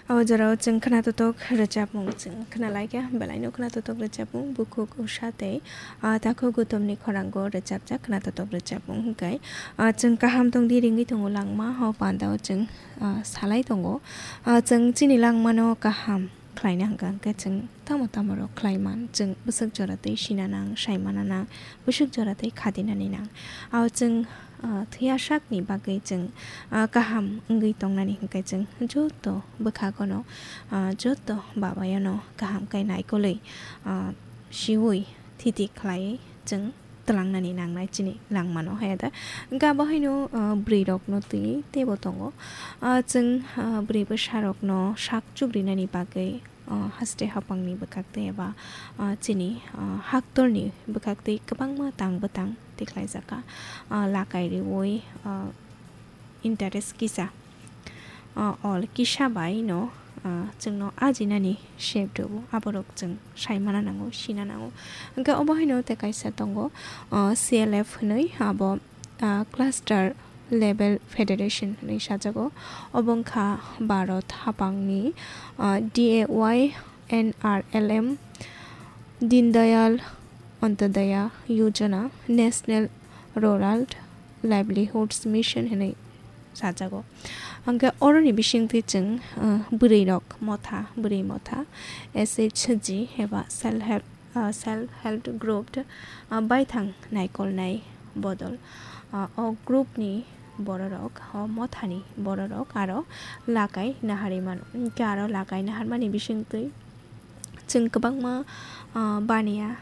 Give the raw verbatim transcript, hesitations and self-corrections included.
O jorao chwng khwnatotok rwchapmung chwng khwnalaikha, belaino khwnatotok rwchapmung bukhuk Usha tei, ah, takhuk Gautamni khorango rwchapjak khwnatotok rwchapmung hwnkhe, ah, chwng kaham tongdi ringwi tongo langma, o pandao chwng, ah, salai tongo. Ah, chwng chini langmano kaham khlaina hwnkha hwnkhe chwng tamo tamo rok khlai man, chwng bwswk jora tei sina nang, sai mana nang, bwswk jora tei khadinani nang. O chwng ah, thwiya sakni bagwi chwng, ah, kaham wngwi tongnani hwnkhe chwng joto bwkhagono, ah, joto babayono kaham khe naikolwi, ah, siwi thiti khlaiwi chwng twlangnani nangnai chini langmano hai da. Hwnkhe abo haino, ah, bwrwirokno twiwi teibo tongo. Ah, chwng, ah, bwrwi bwsarokno sak chukrinani bagwi, ah, haste hapangni bwkhaktwi eba, ah, chini, ah, haktorni bwkhaktwi kwbangma tang bwtang tikhlaijakha. Ah, lakai riwi, ah, interest kisa, ah, ol kisa bai no, ah, chwngno ajinani sep rwo, aborok chwng saimana nango, sina nango. Hwnkhe obo haino tei kaisa tongo, ah, C L F hwnwi, abo ah, cluster level federation hwnwi sajago. Obo wngkha Bharat haphangni, ah, D A Y N R L M, Deen Dayal Antyodaya Yojana, National Rural Livelihoods Mission hwnwi sajago. Hwnkhe oroni bisingtwi chwng, ah, bwrwirok motha, bwrwi motha, S H G eba self help ah, self help group, ah, baithang naikolnai bodol, ah, o group ni bororok, o mothani bororok aro lakai naharwi mano. Hwnkhe aro lakai naharmani bisingtwi chwng kwbangma, ah, baniya